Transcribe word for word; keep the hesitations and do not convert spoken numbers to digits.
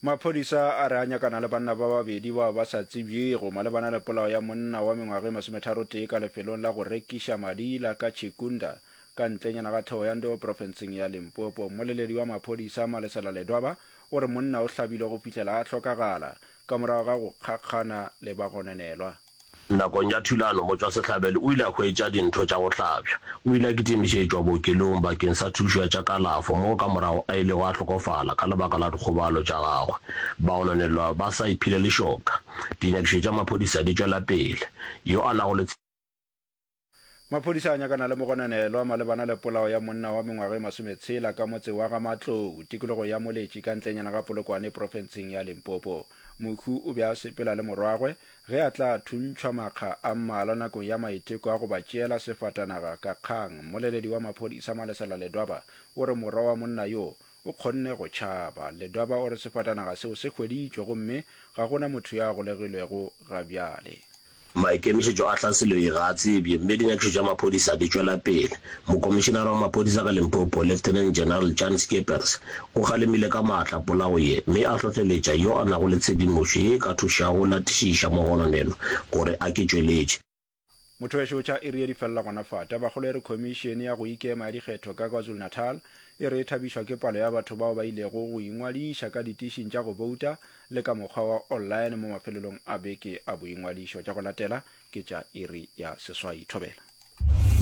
Maphodisa a re a nyakana le banna ba babedi bao ba sa tsebjego malebana le polao ya monna wa mengwaga e masometharotee ka lefelong la go rekiša madila ka Chikunda ka ntlenyana ga Thohoyandou profenseng ya Limpopo. Mmoleledi wa maphodisa Malesela Ledwaba o re monna o hlabilwe go fihlela a hlokagala ka morago ga go kgakgana le bagononelwa. Nakong ya thulano, motšwasehlabelo o ile a hwetša dintho tša go hlabja. O ile a kitimišetšwa bookelong bakeng sa thušo ya tša kalafo, moo ka morago a ilego a hlokofala ka lebaka la dikgobalo tša gagwe. Bagononelwa ba sa iphile lešoka. Dinyakišišo tša maphodisa di tšwela pele. Yo a nago le. Maphodisa a nyakana le mogononelwa malebana le polao ya monna wa mengwaga e masometshela ka motse wa Ga-Matlou, tikologo ya Moletši ka ntlenyana ga Polokwane profenseng ya Limpopo. Mohu o be a sepela le morwagwe ge a tla thuntšhwa makga a mmalwa nakong ya maiteko a go ba tšeela sefatanaga ka kgang. Mmoleledi wa maphodisa Malesela Ledwaba o re morwa wa monna yo o kgonne go tšhaba. Ledwaba o re sefatanaga seo se hweditšwe gomme ga go na motho yo a golegilwego ga bjale. Maikemišetšo a tlhaselo ye ga a tsebje mme dinyakišišo tša maphodisa di tšwela pele. Mokomišenare wa maphodisa ka Limpopo, Lieutenant General Jan Scheepers, o kgalemile ka maatla polao ye mme a hlohleletša yo a nago le tshedimošo ye e ka thušago go latišiša mogononelwa gore a ke tšweletše. Motho wešo tša iri ye di felela gona fa. Tabakgolo e re Khomišene ya go Ikema ya Dikgetho ka KwaZulu-Natal e re e thabišwa ke palo ya batho bao ba ilego go ingwadiša ka ditišing tša go bouta le ka mokgwa wa online mo mafelelong a beke a boingwadišo. Tša go latela ke tša iri ya seswai. Thobela.